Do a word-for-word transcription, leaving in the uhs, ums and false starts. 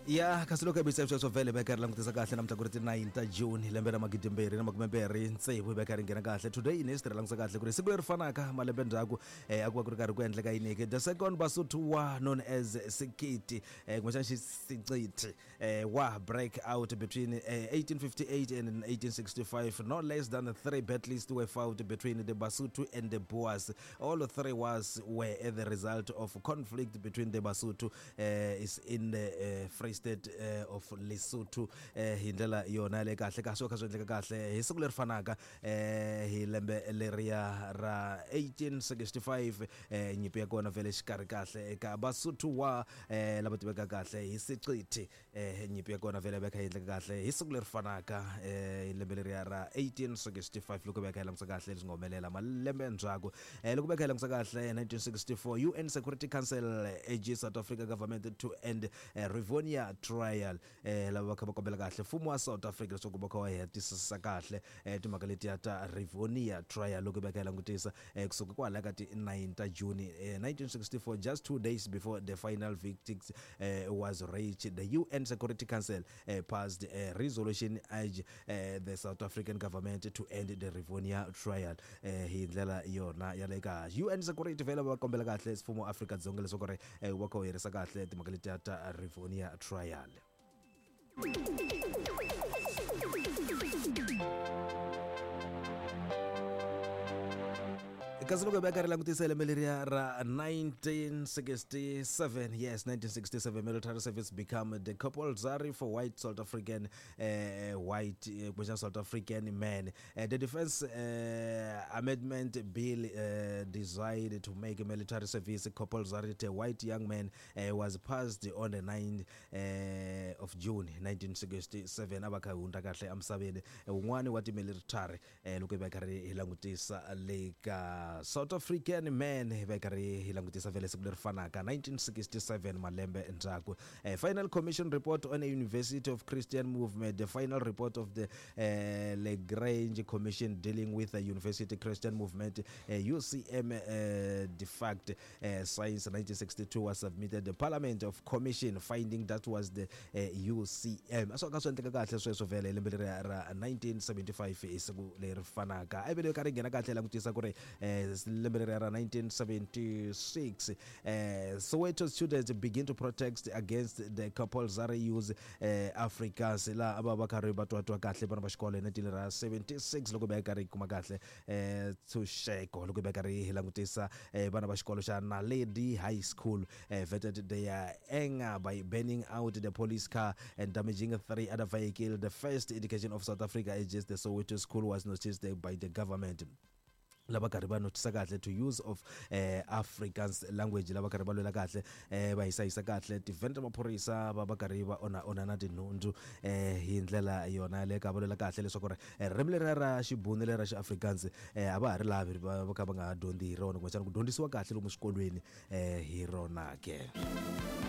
Ya kasi loko hi sweswo vhele va karhi langutisa kahle namuntlha ku ri ti nine ta June lembe ra magidi mbirhi na makume mbirhi tsevu hi va karhi nghena kahle today in history langutisa kahle ku ri siku leri fanaka malembe ndzhaku eh, a ku va ku ri karhi ku endleka yini ke the second Basotho war known as Sekiti eh, kumbexana xisiciti eh, war break out between eh, eighteen fifty-eight and eighteen sixty-five. No less than three battles were fought between the Basotho and the Boers. All three wars were the result of conflict between the Basotho eh, is in the eh, Free State eh, of Lesotho eh, hi ndlela yona le kahle kahle swo kha swi endleka kahle hi siku leri fanaka eh, hi lembe leriya ra eighteen sixty-five eh, nyimpi ya kona vhele xikarhi kahle eka Basotho wa eh, lava tiveka kahle hi Secithi eh, nyimpi ya kona vhele va kha yi endleka kahle hi siku leri fanaka eh, hi lembe leriya ra eighteen sixty-five loko va kha hi langutisa kahle leswi nga humelela malembe ndzhaku eh, loko va kha hi langutisa kahle nineteen sixty-four U N Security Council urges South Africa government to end eh, Rivonia trial eh, lava va kha va kombela kahle mfumo wa South Africa leswaku va kha va hetisisa kahle eh, timhaka letiya ta Rivonia trial loko va kha hi langutisa eh, kusuka kwala ka ti nine ta June eh, nineteen sixty-four, just two days before the final verdict eh, was reached, the U N Security Council eh, passed a resolution urge eh, the South African government to end the Rivonia trial eh, hi ndlela yona ya le ka U N Security vhele va kombela kahle mfumo wa Afrika-Dzonga leswaku ri eh, va kha wu herisa kahle timhaka letiya ta Rivonia trial. Kasi loko hi va karhi langutisa lembe leriya ra nineteen sixty-seven, yes, nineteen sixty-seven, military service become the compulsory for white South African uh, white uh, South African men. Uh, the Defense uh, Amendment Bill uh, designed to make military service compulsory to white young men uh, was passed on the ninth uh, of June nineteen sixty-seven. A va kha hundza kahle emisaveni un'wani wa ti-military loko hi va karhi hi langutisa le ka South African men hi va karhi hi langutisa vhele siku leri fanaka nineteen sixty-seven malembe ndzhaku. Uh, final commission report on a University of Christian Movement, the final report of the uh, Legrange Commission dealing with the University Christian Movement uh, U C M uh, defunct uh, since nineteen sixty-two was submitted the Parliament of Commission finding that was the uh, U C M. So ka swi endleka kahle sweswo vhele lembe leri ra nineteen seventy-five hi siku leri fanaka. A vele karhi nghena kahle langutisa ku ri lembe leri ra nineteen seventy-six eh, Soweto students begin to protest against the compulsory use eh, Afrikaans la ava va karhi va twatwa kahle vana va xikolo hi nineteen seventy-six loko va karhi kuma kahle eh, ntshunxeko loko va karhi hi langutisa eh, vana va xikolo xa Naledi High School eh, vetted their anger by burning out the police car and damaging three other vehicles. The first indication of South Africa against the Soweto school was noticed by the government. Lava karhi va notisa kahle to use of eh, Afrikaans language lava karhi va lwela kahle eh, va hisahisa kahle tivhene ta maphorisa va va karhi va onha onha na tinhundzu eh, hi ndlela yona le ka va lwela kahle leswaku ri ririmi leri ra xibunu leri ra xi-Afrikaans eh, a va ha ri lavi va va kha va nga ha dyondzi hi rona kumbexana ku dyondzisiwa kahle lomu swikolweni eh, hi rona ke.